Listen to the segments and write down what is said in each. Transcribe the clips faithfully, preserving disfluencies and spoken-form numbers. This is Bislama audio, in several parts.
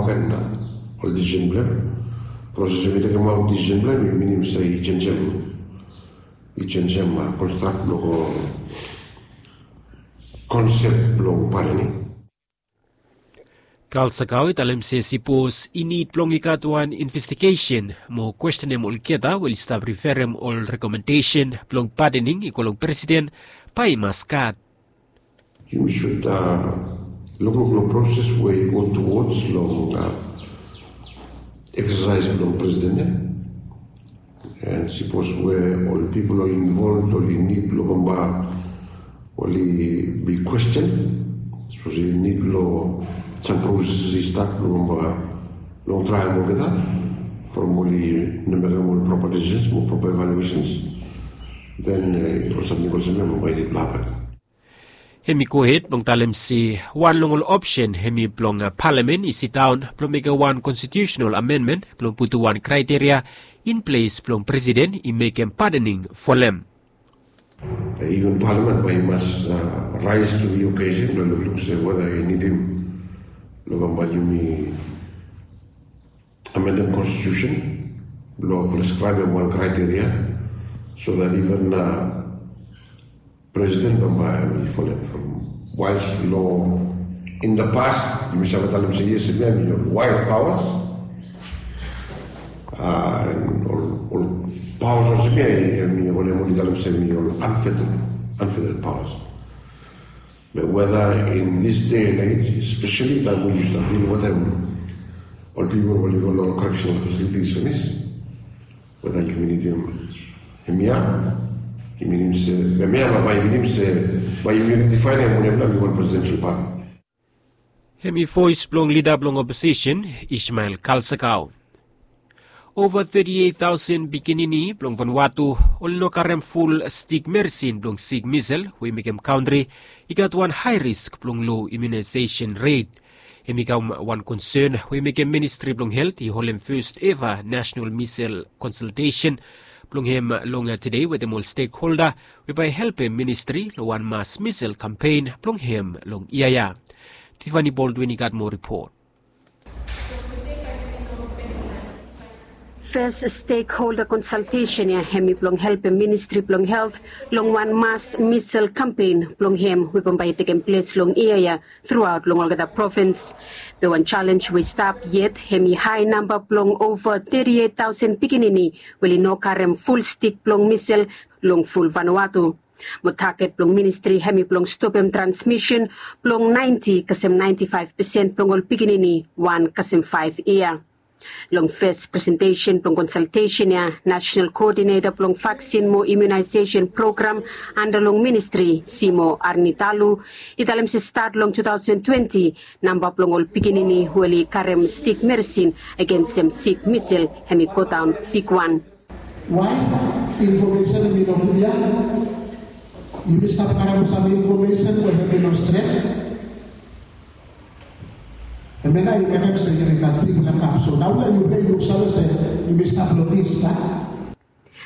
Ol disisen blong em, proses we mi tekemaot disisen blong em i minim se i jenjem, i jenjem konstrakt blong ol konsep blong padening. Kalsakao i talem se sipos i nid blong i gat wan investigesen mo kwestenem olgeta we oli stap riferem ol rekomendesen blong padening i go long presiden, bae i mas gat. Yumi sud lukluk long proses we i go tuwods long eksasaes blong presiden ya. And sipos we ol pipol oli involved oli nid long bamba oli bi kwesten, sipos oli nid long sam proses i stat long bamba long traem olgeta from oli no mekem ol proper decisions mo proper evaluations, then ol samting olsem ya bamba i nid blong hapen. Hem i gohed blong talem se wan long ol opsen hem i blong palamen i sidaon blong mekem wan konstitiusenal amenmen blong putum wan kraiteria in ples blong presiden i mekem padening folem. Even palamen bae i mas rise to the occasion blong lukluk se weda i nidim blong bamba yumi amendem konstitiusen blong preskraebem wan kraiteria so that even presiden bamba hem i folem from waes long in the past yumi save talem se yes hemia hem i ol wild powers. Ol powers olsem ya hem i ol hem oli talem se hem i ol unfettered, unfettered powers. Be weda in this day and age especially taem we yu stap dil wetem ol pipol we oli go long ol correctional facilities finis, weda yumi nidim hemia, yumi nidim se hemia bae yumi nidim se bae yumi ridifaenem wanem nao hem i wan presidential power. Hem i voes blong lida blong oposisen Ismael Kalsakao. Ova teti eit taosen pikinini blong Vanuatu oli no karem ful stik meresin blong sik misel we i mekem kantri i gat wan hae risk blong lo imunaesesen ret. Hem i kam wan konsen we i mekem ministri blong helt i holem fes eva nasenal misel konsaltesen blong hem long tede wetem ol stekholda we bae i helpem ministri long wan mas misel kampen blong hem long yia ya. Tifani Boldwin i gat moa ripot. Fes stekholda konsaltesen ya hem i blong helpem ministri blong helt long wan mas misel kampen blong hem we bambae i tekem ples long yia ya truaot long olgeta provins. Be wan jalenj we i stap yet hem i hae namba blong ova teti eit taosen pikinini we oli no karem ful stik blong misel long ful Vanuatu. Mo taget blong ministri hem i blong stopem transmisen blong naenti kasem naenti faef pesen blong ol pikinini wan kasem faef yia. Long fes presentesen blong konsaltesen ya, nasenal koodineta blong vaksin mo imunaesesen program anda long ministri Simo Arnitalu i talem se stat long tu taosen twenti namba blong ol pikinini we oli karem stik meresin agensem sik misel hem i godaon bigwan. Wae infomesen hem i no klia? Yumi stap karem sam infomesen we hem i no stret. Hemia nao i mekem se yumi gat bigfala gap. So naoia yumi luksave se yumi stap long dis a.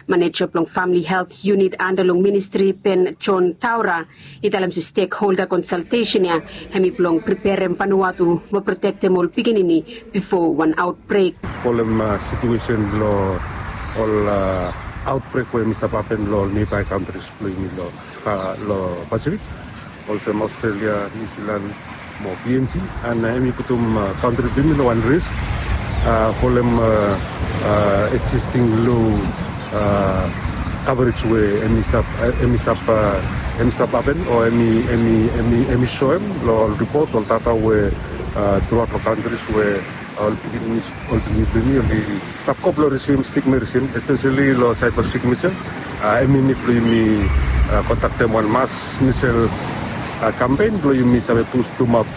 Maneja blong famili helt yunit anda long ministri Ben John Taura i talem se stekholda konsaltesen ya hem i blong preperem Vanuatu mo protektem ol pikinini bifo wan aotbrek. Folem situesen blong ol aotbrek we hem i stap hapen long ol neabae kantris blong yumi long Pasifik, olsem Australia, New Zealand mo P N G, and hem i putum kantri blong yumi long wan risk folem existing low coverage we hem i stap, hem i stap, hem i stap hapen o hem i, hem i, hem i soem long ol ripot, ol data we truaot long kantris we ol pikinini, ol pikinini blong yumi oli stap go blong risivim stik meresin, espeseli long saed blong sik misel. Hem i nid blong yumi kondaktem wan mas misel kampen blong yumi save bustumap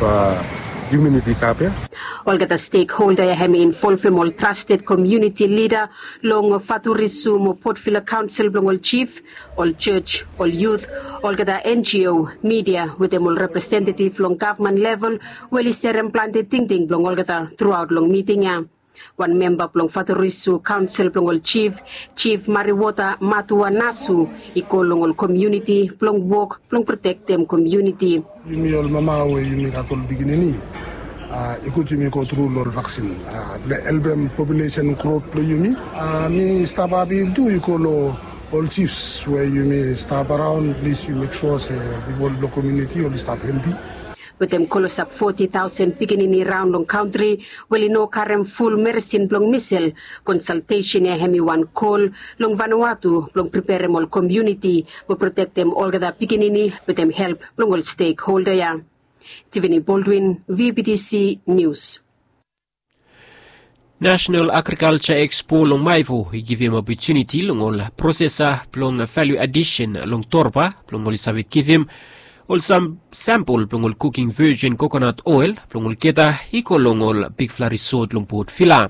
imuniti gap ya. Olgeta stekholda ya hem i involvem ol trasted komuniti lida long Faturisu mo Port Vila kaonsel blong ol jif, ol jos, ol yut, olgeta N G O, midia wetem ol representetiv long gavman level we oli serem plante tingting blong olgeta truaot long miting ya. Wan memba blong Faturisu kaonsel blong ol jif, Jif Mariwota Matua Nasu, i kol long ol komuniti blong wok blong protektem komuniti. Yumi ol mama we yumi gat ol pikinini, I gud yumi go tru long ol vaksin blong helpem populesen grot blong yumi. Mi stap apil tu i go long ol jifs we yumi stap araon, plis yu mek sua se pipol blong komuniti oli stap helti. Wetem klosap foti taosen pikinini raon long kantri we oli no karem ful meresin blong misel, konsaltesen ya hem i wan kol long Vanuatu blong preperem ol komuniti mo protektem olgeta pikinini wetem help blong ol stekholda ya. Tiffany Baldwin, V B T C News. National Agriculture Expo long Maevo i givim opotuniti long ol prosesa blong value addition long Torba blong oli save givim ol sam sampol blong ol cooking virgin coconut oil blong olgeta i go long ol bigfala resort long Port Vila.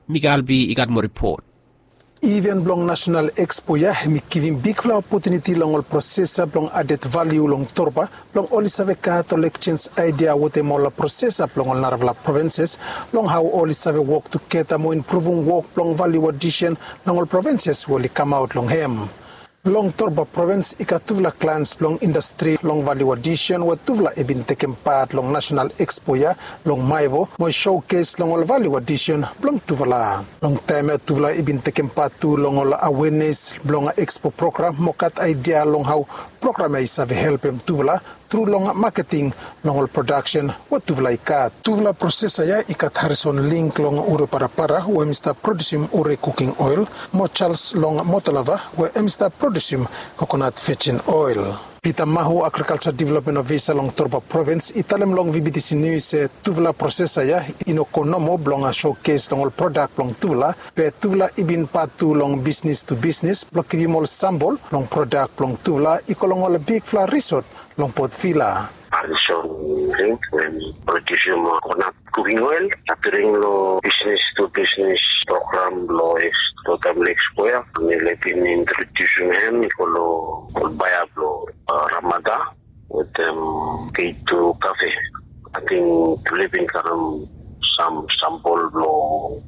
Mika Albi i gat moa ripot. Iven blong National Expo ya hem i givim bigfala opotuniti long ol prosesa blong added value long Torba blong oli save gat ol ekjenj aedia wetem ol prosesa blong ol narafala provinses long hao oli save wok tugeta mo impruvum wok blong value addition long ol provinses we oli kamaot long hem. Long Torba provins i gat tufala klans blong indastri long value addition we tufala i bin tekem pat long National Expo ya long Maevo mo i showcase long ol value addition blong tufala. Long taem ya tufala i bin tekem pat tu long ol awenes blong Expo program mo gat aedia long hao program ya i save helpem tufala tru long maketing long ol prodaksen we tufala i gat. Tufala prosesa ya i gat Harrison Link long Ure Parapara we hem i stap produsim ure kuking oel, mo Charles long Motalava we hem i stap produsim kokonat vejin oel. Peter Mahu, Agrikalja Developmen Ofisa long Torba Provins, i talem long V B T C Nius se tufala prosesa ya i no go nomo blong showcase long ol prodak blong tufala, be tufala i bin pat tu long bisnis tu bisnis blong givim ol sambol blong prodak blong tufala i go long ol bigfala risot long Port Vila. Harrison Link we hem i produsim kokonat kuking oel, appearing long bisnis tu bisnis program blong East Totam Lake Square. Mi laik bin introdusim hem i go long ol baea blong Ramada wetem K two Cafe. Ating tufala i bin karem sam sampol blong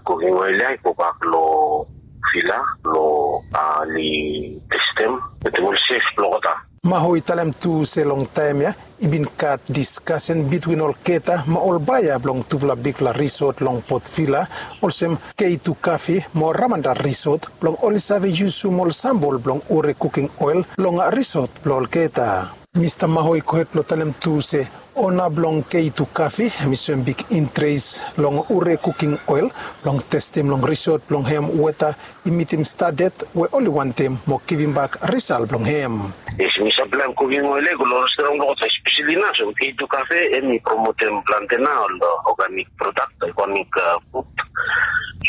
kuking oel ya i gobak long Vila blong oli testem wetem ol sef blong olgeta. Mahu i talem tu se long taem ya i bin gat diskasen bitwin olgeta mo ol baea blong tufala bigfala risot long Port Vila, olsem K two Cafe mo Ramada Risot, blong oli save yusum ol sambol blong ure kuking oel long risot blong olgeta. Mista Mahu i gohed blong talem tu se ona blong K two Cafe hem i soem big interes long ure kuking oel blong testem long risot blong hem weta i mitim standad we oli wantem mo givimbak risal blong hem. Yes, mi saplaem kuking oel ya i go long restoran blong olgeta, espeseli nao olsem K two Cafe hem i promotem plante nao ol organik prodak, organik fud.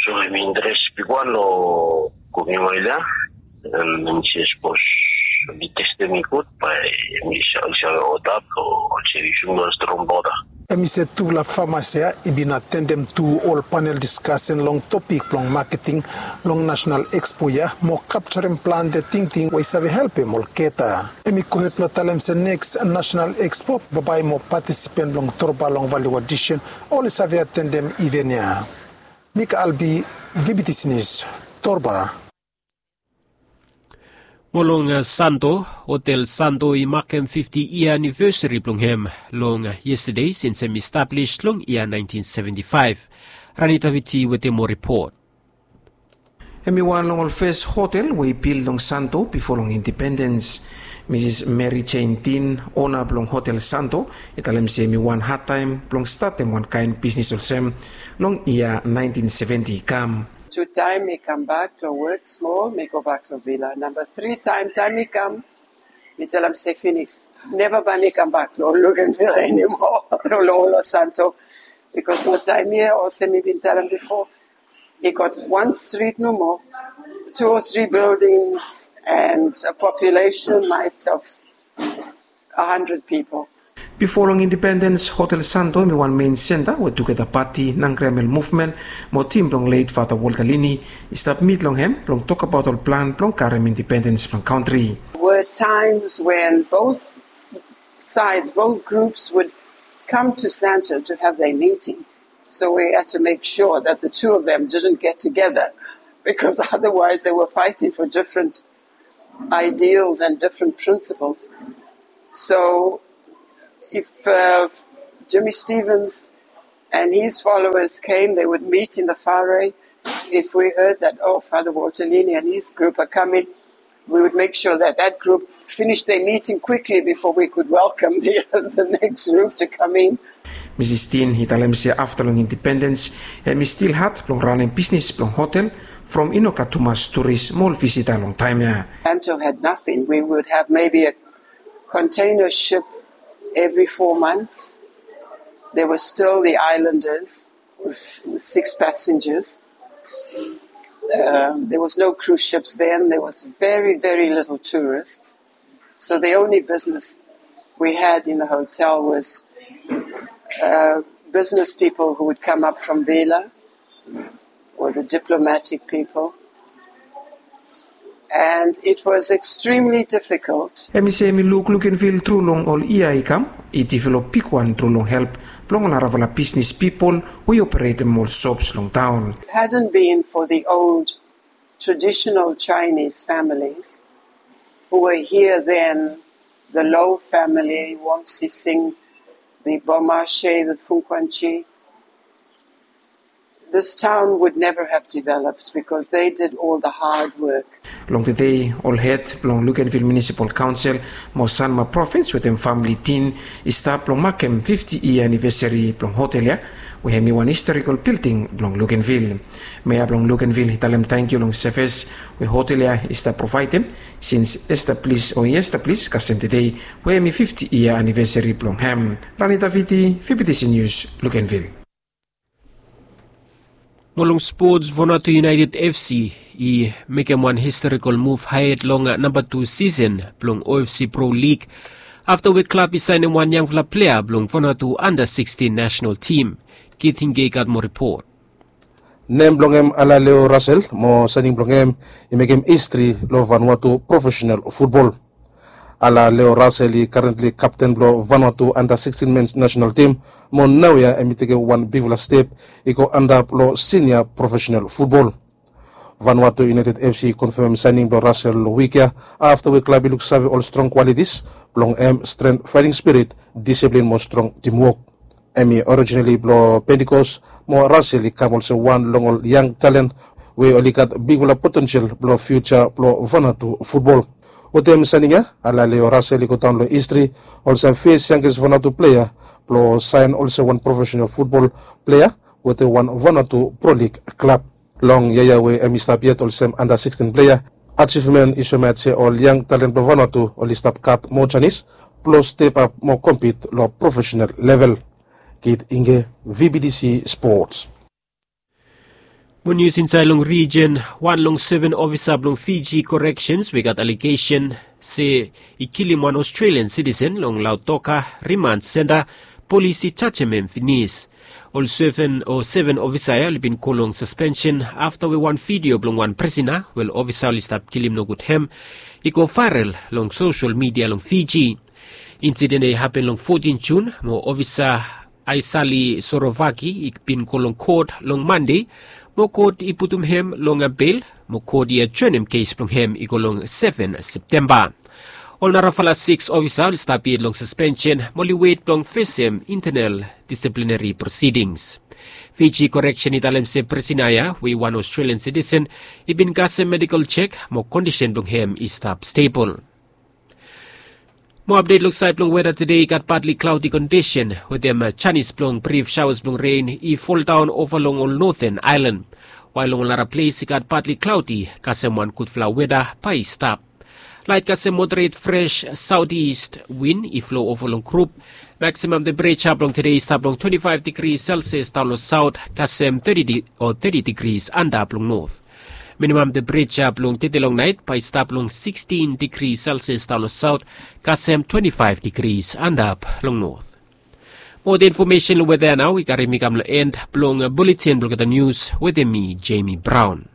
So hem i interes bigwan long kuking oel ya. Hem i se sapos oli testem i gud bae hem i save oda blong oli save yusum long restoran blong olgeta. Hem i se tufala famas ya i bin atendem tu ol panel diskasen long topik blong maketing long Nasenal Expo ya mo kapjarem plante tingting we i save helpem olgeta. Hem i gohed blong talem se neks Nasenal Expo bambae mo patisipen blong Torba long value addition oli save atendem iven ya. Mika Albi, V B T C Nius, Torba. Mo long Santo, Hotel Santo i makem fifti yia anivesari blong hem long yestade sins hem i stablis long yia naentin seventi faef. Ranita Viti wetem moa ripot. Hem i wan long ol fes hotel we i bil long Santo bifo long indipendens. Misis Mary Jane Dean, ona blong Hotel Santo, i talem se hem i wan hadtaem blong statem wan kaen bisnis olsem long yia naentin seventi i kam. Tu taem mi kambak long wok smol, mi gobak long vila. Namba tri taem, taem mi kam, mi talem se finis. Neva bae mi kambak long Luganville anymore, long Hotel Santo. Bikos long taem ya, olsem mi bin talem bifo, i gat wan strit nomo, two or three buildings, and a population might of a hundred people. Bifo long indipendens, Hotel Santo hem i wan mein senta we tugeta pati, Nangriamel Muvmen mo tim blong let Fata Walter Lini i stap mit long hem blong tokbaot ol plan blong karem indipendens blong kantri. Were times when both sides, both groups would come to Santo to have their meetings. So we had to make sure that the two of them didn't get together, because otherwise they were fighting for different ideals and different principles. So if uh, Jimmy Stevens And his followers came, they would meet in the Faroe. If we heard that, oh, Father Walter Lini and his group are coming, we would make sure that that group finished their meeting quickly before we could welcome the, the next group to come in. Misis Tin i talem se afta long independens hem i stil had blong ranem bisnis blong hotel from i no gat tumas turis mo ol visita long taem ya. Anto had nothing. We would have maybe a container ship every four months. There were still the islanders with six passengers. Um, there was no cruise ships then. There was very, very little tourists. So the only business we had in the hotel was uh, business people who would come up from Vela or the diplomatic people. And it was extremely difficult. Hem i se hem i luk Lukenvil tru long ol yia i kam i develop bigwan tru long help blong ol narafala bisnis pipol we i operetem ol sops long taon. It hadn't been for the old traditional Chinese families who were here then, the Low family, Wong Sising, the Bomashe, the Funquanchi, this town would never have developed because they did all the hard work. Long tede ol hed blong Lukenvil Munisipal Kaonsel mo Sanma Provins wetem famili Tin i stap blong makem fifti yia anivesari blong hotel ya we hem i wan historikol bilding blong Lukenvil. Mea blong Lukenvil i talem tangkiu long sevis we hotel ya i stap provaedem sins establis o i establis kasem tede we hem i fifti yia anivesari blong hem. Rani Daviti, Vibitisi Nius, Lukenvil. Mo long spots, Vanuatu United FC i mekem wan historikol muv haed long namba tu sisen blong OFC Pro Lig afta we klab i saenem wan yangfala plea blong Vanuatu anda sikstin nasenal tim. Kit Hinge i gat moa ripot. Nem blong hem Alaleo Rasel mo saening blong hem i mekem histri long Vanuatu profesenal futbol. Alaleo Rasel i karentli kapten blong Vanuatu anda sikstin mens nasenal tim mo naoia hem i tekem wan bigfala step i go antap long sinia profesenal futbol. Vanuatu United FC i konfem saening blong Rasel long wik ya afta we klab i luksave ol strong kwalitis blong hem, stren, faeting spirit, disiplin mo strong timwok. Hem i orijinali blong Pentikos mo Rasel i kam olsem wan long ol yang talen we oli gat bigfala potensel blong fiuja blong Vanuatu futbol. Wetem saening ya Alaleo Rasel i godaon long histri olsem fes yangges Vanuatu plea blong saen olsem wan profesenal futbol plea wetem wan Vanuatu Pro Lig klab. Long yia ya we hem i stap yet olsem anda sikstin plea, ajivmen i soemaet se ol yang talen blong Vanuatu oli stap gat moa janis blong step ap mo kompit long profesenal level. Kit Inge, VBTC Sports. Mo nius insaed long rijen, wan long seven ofisa blong Fiji Corrections we i gat alegesen se i kilim wan Australian sitisen long Lautoka Remand Senta, polis i jajem hem finis. Ol seven o seven ofisa ya oli bin go long saspensen afta we wan vidio blong wan prisina we ol ofisa oli stap kilim nogud hem i go vaerel long sosel midia long Fiji. Insiden ya i hapen long fotin Jun mo ofisa Aisali Sorovaki i bin go long kot long Mande mo kot i putum hem long bel mo kot i ajoenem kes blong hem i go long seven Septemba. Ol narafala sikis ofisa oli stap yet long saspensen mo oli wet blong fesem intenel disiplineri prosidings. Fiji Koreksen i talem se prisina ya we i wan Australian sitisen i bin kasem medikol jek mo kondisen blong hem i stap stebol. Mo apdet long saed blong weda tede i gat patli klaodi kondisen wetem janis blong brif saoas blong ren i foldaon ova long ol noten aelan. Wael long ol nara ples i gat patli klaodi kasem wan gudfala weda bae i stap. Laet kasem moderet fres saotis win i flo ova long grup. Maksimam tempereja blong tede i stap long twenti faef digri selsias daon long saot kasem teti o teti digris antap long not. Minimam tempereja blong tede long naet bae i stap long sikstin digri selsias daon long saot kasem twenti faef digris antap long not. Mo ol infomesen long weda ya nao i karim mi kam long en blong buletin blong olgeta nius wetem mi, Jemi Braon.